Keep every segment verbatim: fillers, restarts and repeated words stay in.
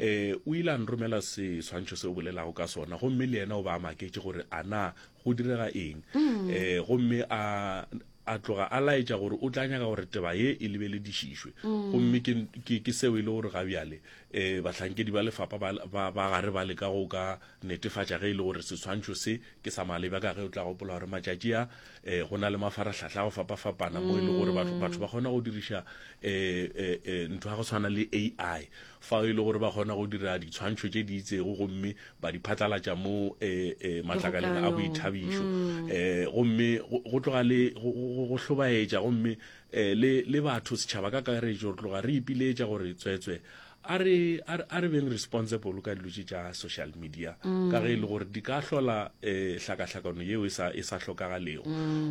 Eh o ile a nromela seswantšho se o bolelago ka sona, gomme le yena o ba a maketše gore a na go direga eng. Eh gomme a a tloga a laetša gore o tla nyaka gore taba ye e lebeledišišwe. Gomme ke, ke, ke seo e le gore ga bjale eh bahlankedi ba lefapha ba, ba, ba gare ba leka go ka netefatša ge e le gore seswantšho se ke sa maleba, ka ge o tla gopola gore matšatši a eh go na le mafarahlahla a go fapafapana mo e le gore batho, batho ba kgona go diriša eh, eh, eh, ntho ya go tshwana le A I, fao e le gore ba kgona go dira ditshwantšho tše di itsego gomme ba di phatlalatša mo eh, eh, matlakaleng a boithabišo. Eh, gomme go, go tloga le go, go, go hlobaetša, gomme eh, le, le batho setšhaba ka kakaretšo re tloga re ipiletša gore tswetswe a re, a re, a re beng responsible ka dilo tše tša social media, ka ge e le gore di ka hlola eh, hlakahlakano yeo e sa, e sa hlokagalego.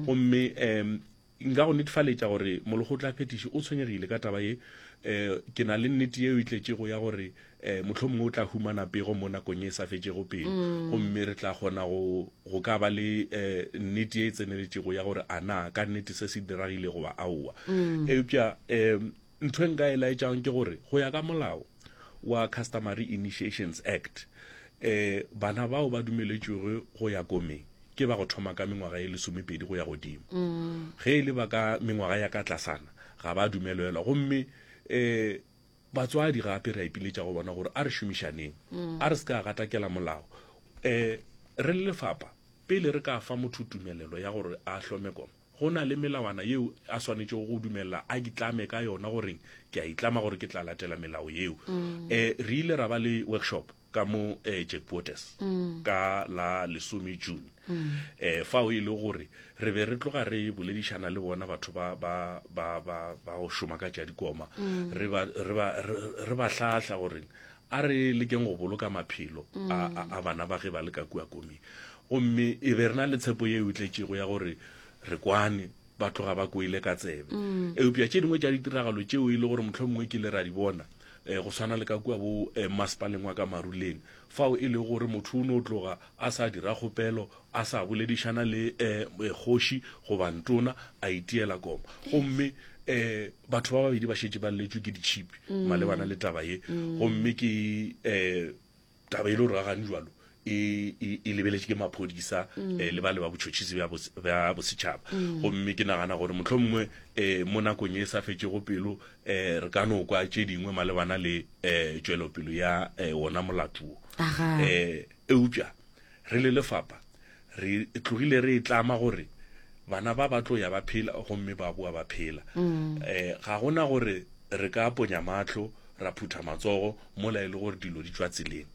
Gomme em nka go netefaletša gore molekgotlaphethiši o tshwenyegile ka taba ye. Eh ke na le nnete yeo e tletšego ya gore eh mohlomongwe o tla humana pego mo nakong ye e sa fetšego pelo, gomme re tla kgona go, go ka ba le eh nnete ye e tseneletšego ya gore a na ka nnete se se diragile goba aowa. Eupša em ntho e nka e laetšang ke gore go ya ka molao wa Customary Initiations Act, eh bana bao ba dumeletšwego go ya komeng ke ba go thoma ka mengwaga e lesomepedi go ya godimo. Ge e le ba ka mengwaga ya ka tlasana ga ba dumelelwa. Gomme eh batswadi gape re a ipiletša go bona gore a re šomišaneng, a re se ka gatakela molao. Eh re le lefapha pele re ka fa motho tumelelo ya gore a hlome koma, go na le melawana yeo a swanetšego go dumela a itlame ka yona, goreng ke a itlama gore ke tla latela melao yeo. Eh re ile ra ba le workshop ka mo eh, Jack Waters ka la lesome June, eh fao e le gore re be re tloga re boledišana le bona batho ba ba ba ba ba go šoma ka tša dikoma, re ba re ba re ba hlahla gore a re lekeng go boloka maphelo a, a, a bana ba ge ba le ka kua komeng. Gomme e be re na le tshepo yeo e tletšego ya gore re kwane ba tloga ba kwele ka tsebe. Eupša tše dingwe tša ditiragalo tšeo e le gore mohlomongwe ke ile ra di bona eh, go swana le ka kua bo eh, masepaleng wa ka Maruleng, fao e le gore motho o no tloga a sa dira kgopelo, a sa boledišana le eh, kgoši goba ntona, a itiela koma. Gomme eh, batho ba babedi ba šetše ba lletšwe ke ditšhipi malebana le taba ye. Gomme ke eh, taba e le gore ga gane jwalo e, e, e lebeletše ke maphodisa eh, le ba le ba botšhotšhisi bja bos- bja bosetšhaba. Gomme ke nagana gore mohlomongwe eh, mo nakong ye e sa fetšego pelo eh, re ka no kwa tše dingwe malebana le eh, tšwelopelo ya eh, wona molato wo. Aga. Eh, eupša re le lefapha re tlogile re e tlama gore bana ba ba tlo ya ba phela gomme ba boa ba phela. Eh, ga gona gore re ka ponya mahlo ra phutha matsogo mola e le gore dilo di tšwa tseleng.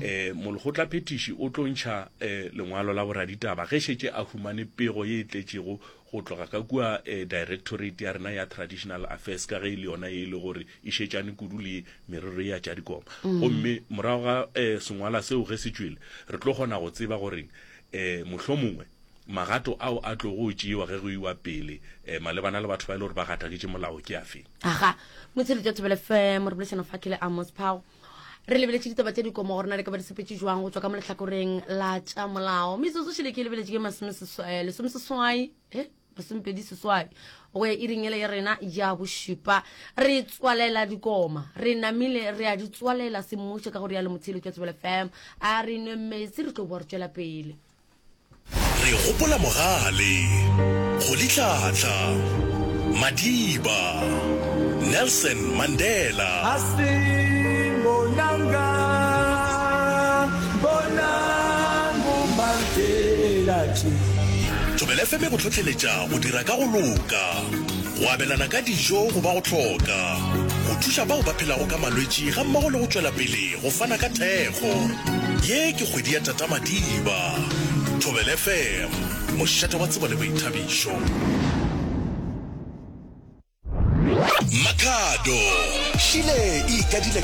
Eh molekgotlaphethiši o tlo ntšha eh, lengwalo la boraditaba ge šetše a humane pego ye e tletšego go tloga ka kua eh, directorate ya rena ya Traditional Affairs, ka ge e le yona ye e le gore e šetšane kudu le merero ya tša dikoma. Gomme morago ga eh, sengwala seo ge se tšwele, re tlo kgona go tseba gore eh, mohlomongwe magato ao a tlogo tšewa ge go iwa pele eh, malebana le batho ba e le gore ba gataketše molao ke afe. Aga, motsheletšo Thobela F M, re boledišana fa ke le Amos Phago. Re lebeletše ditaba tša dikomo gore na di ka ba di sepetše jwang go tšwa ka mo lehlakoreng la tša molao. Metsotso šele ke lebeletše ke masome seswai, eh, lesome seswai, eh, masomepedi seswai go ya iring ele ya rena ya bošupa. Re tswalela dikoma, re namile re a di tswalela semmušo ka go rialo motsheletšo Thobela F M. A re nwe metsi re tlo boa re tšwela pele. Re gopola Mogale, Rolihlahla, Madiba, Nelson Mandela. Asimbonanga, bonang Mandela tše. Thobela F M e go hlohleletša go dira ka go loka, go abelana ka dijo go ba go hloka, go thuša bao ba phelago ka malwetši ga mmogo le go tšwela pele go fana ka thekgo. Ye ke kgwedi ya Tata Madiba. Thobela F M, mošate wa tsebo le boithabišo. Makhado, Šile e ikadile